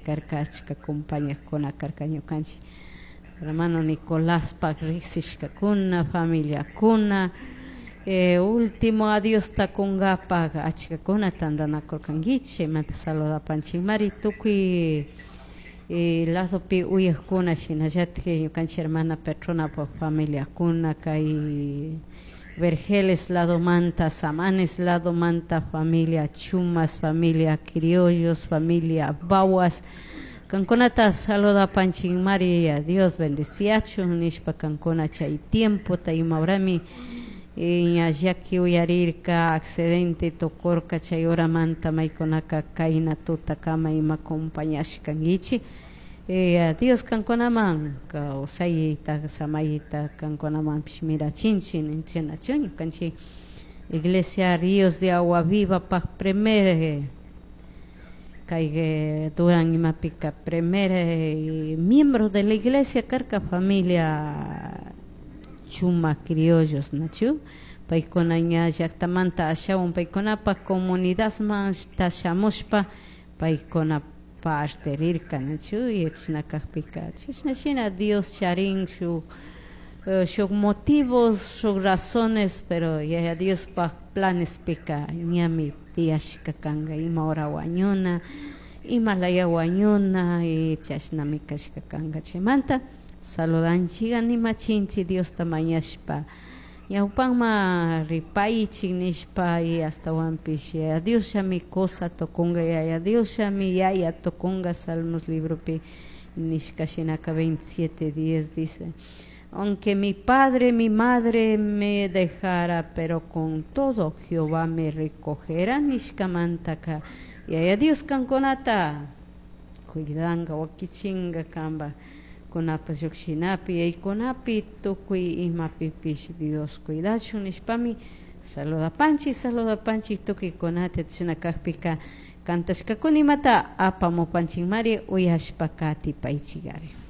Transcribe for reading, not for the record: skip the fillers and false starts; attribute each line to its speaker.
Speaker 1: Karka achka compañajkuna karka ñukanchik hermano Nicoláspak riksishkakuna, familiakuna, último adiosta kunkapak achkakuna tantanakurkankichik. Chaymanta saludapanchikmari tukuy ladopi uyakuna, shinallatik ñukanchik hermana Petronapak familiakuna, kay Vergeles ladomanta, Samanes ladomanta, familia Chumas, familia Criollos, familia Bawas, kankunata saludapanchikmari. Dios bendiciachun nishpa kankuna chay tiempota imahorami ña llaki uyarirka, accidente tukurka, chay horamanta maykunaka kayna tutakama ima acompañashkankichik. Dios kankunaman kawsayta, samayta kankunamanpish mirachinchik ninchik. Ñukanchik Iglesia Ríos de Agua Viva pak primer kay Duran imapika primer miembro de la iglesia karka familia Chuma Criollos, nachu? Paykuna ña llaktamanta ashawan paykunapak comunidadman shamushpa paykuna parte rirka, nachu? Y chashna kakpika chashna shina Dios charin shuk motivos, shuk razones, pero Yaya Diospak planespika ñami tiyashka kanka ima hora wañuna, ima laya wañuna, y chashnami kashka kanka. Chaymanta saludanchik, animachinchik Diosta mañashpa ñawpanman ripaychik nishpa, y ashtawanpish Yaya Diosllami cosa tukunga, Yaya Diosllami yaya tukunga. Salmos libropi nishka shinaka 27:10 dice: "Aunque mi padre, mi madre me dejara, pero con todo Jehová me recogerá" nishkamantaka Yaya Dios kankunata cuidanka, wakichinga kanpa kunapas llukshinapi, yaykunapi, tukuy imapipish Dios cuidachun nishpami saludapanchik, saludapanchik tukuykunata. Chashna kakpika cantashkakuna imata apamupanchikmari, uyashpa katipaychikari.